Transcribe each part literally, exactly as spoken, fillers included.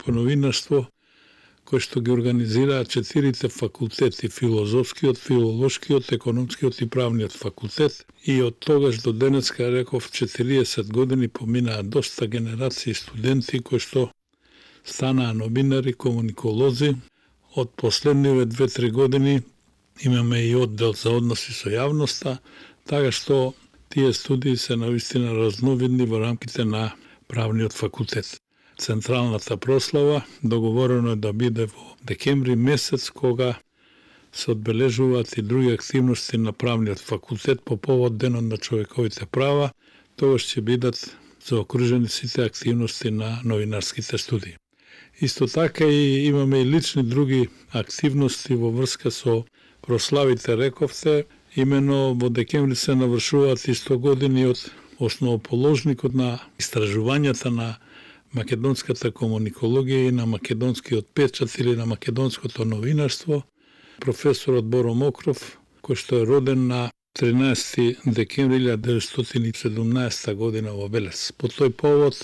по новинарство кој што ги организираат четирите факултети, филозофскиот, филолошкиот, економскиот и правниот факултет. И од тогаш до денеска, реков, четириесет години поминаа доста генерации студенти кои што станаа новинари, комуниколози. Од последниве две-три години имаме и оддел за односи со јавноста, така што тие студии се навистина разновидни во рамките на правниот факултет. Централната прослава договорено е да биде во декември месец, кога се одбележуваат и други активности на правниот факултет по повод Денот на човековите права. Тогаш ќе бидат заокружени сите активности на новинарските студии. Исто така и имаме и лични други активности во врска со прославите, рековте. Имено во декември се навршуваат и сто години од основоположникот на истражувањата на македонската комуникологија и на македонскиот печат или на македонското новинарство, професорот Боро Мокров, кој што е роден на тринаесети декември илјадесетстотини деветстотини и седумнаесета година во Велес. По тој повод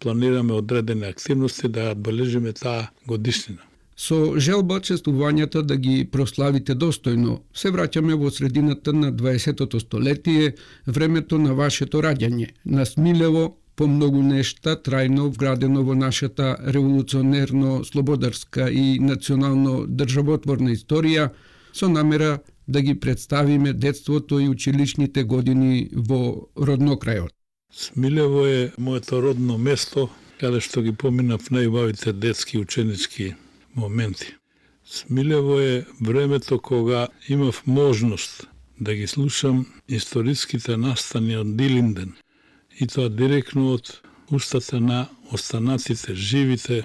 планираме одредени активности да ја одбележиме таа годишнина. Со желба честувањата да ги прославите достојно, се враќаме во средината на дваесеттото столетие, времето на вашето раѓање, на Смилево, по многу нешта трајно вградено во нашата револуционерно, слободарска и национално државотворна историја, со намера да ги представиме детството и училишните години во роднокрајот. Смилево е моето родно место, каде што ги поминав најубавите детски ученички моменти. Смилево е времето кога имав можност да ги слушам историските настани од Дилинден, и тоа директно од устата на останатите живите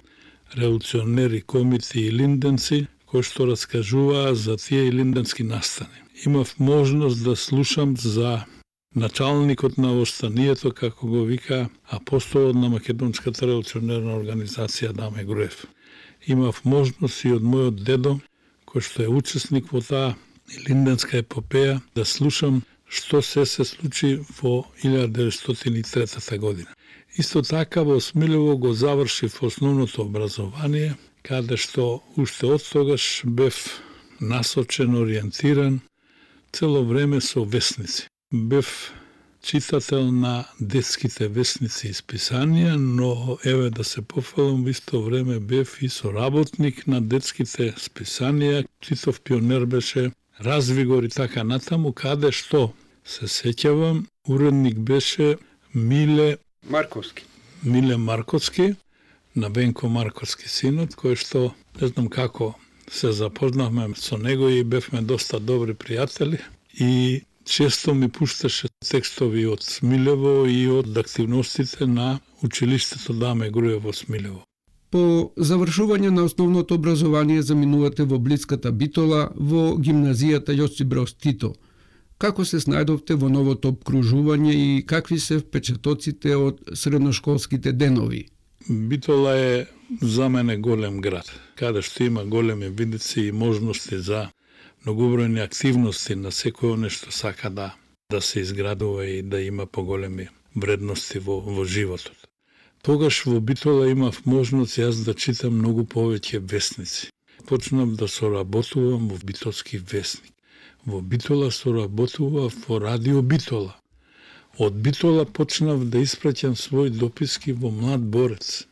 револуционери, комити и линденци, кои што раскажуваа за тие линденски настани. Имав можност да слушам за началникот на останието, како го вика апостолот на Македонската револуционерна организација Даме Груев. Имав можност и од мојот дедо, кој што е учесник во таа линденска епопеја, да слушам што се се случи во илјадесетстотини деветстотини и трета година. Исто така во Смилево го завршив основното образование, каде што уште од тогаш бев насочен, ориентиран цело време со весници. Бев читател на детските весници и списанија, но еве да се пофалам, во исто време бев и соработник на детските списанија. Титов пионер беше, Развигор и така натаму, каде што се сеќавам, уредник беше Миле Марковски. Миле Марковски, на Бенко Марковски синот, кој што не знам како се запознавме со него и бевме доста добри пријатели и често ми пушташе текстови од Смилево и од активностите на училиштето Даме Груев во Смилево. По завршување на основното образование заминувате во блиската Битола, во гимназијата Јосип Брос Тито. Како се снајдовте во новото обкружување и какви се впечатоците од средношколските денови? Битола е за мене голем град, каде што има големи видици и можности за многобројни активности на секој нешто сака да да се изградува и да има поголеми вредности во, во животот. Тогаш во Битола имав можност јас да читам многу повеќе весници. Почнав да соработувам во Битолски весник. Во Битола соработував во Радио Битола. Од Битола почнав да испраќам своји дописки во Млад борец,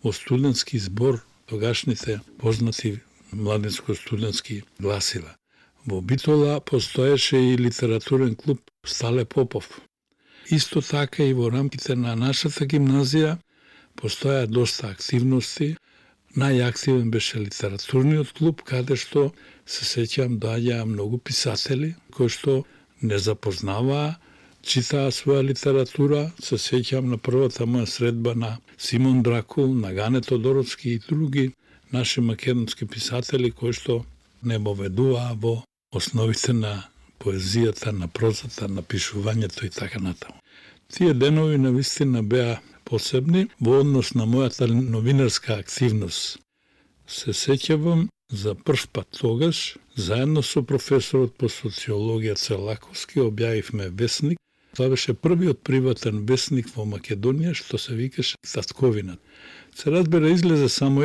во студентски збор, тогашните познати младинско-студентски гласила. Во Битола постоеше и литературен клуб Стале Попов. Исто така и во рамките на нашата гимназија постоја доста активности. Најактивен беше литературниот клуб, каде што се сеќам доаѓаа многу писатели кои што не запознаваа, читаа своја литература. Се сеќам на првата моја средба на Симон Дракул, на Гане Тодоровски и други наши македонски писатели кои што не воведуваа во основите на поезијата, на прозата, на пишувањето и така натаму. Тие денови навистина беа посебни во однос на мојата новинарска активност. Се сеќавам за прв пат тогаш, заедно со професорот по социологија Целаковски, објавивме весник. Тоа беше првиот приватен весник во Македонија, што се викаше Татковинат. Се разбира, излезе само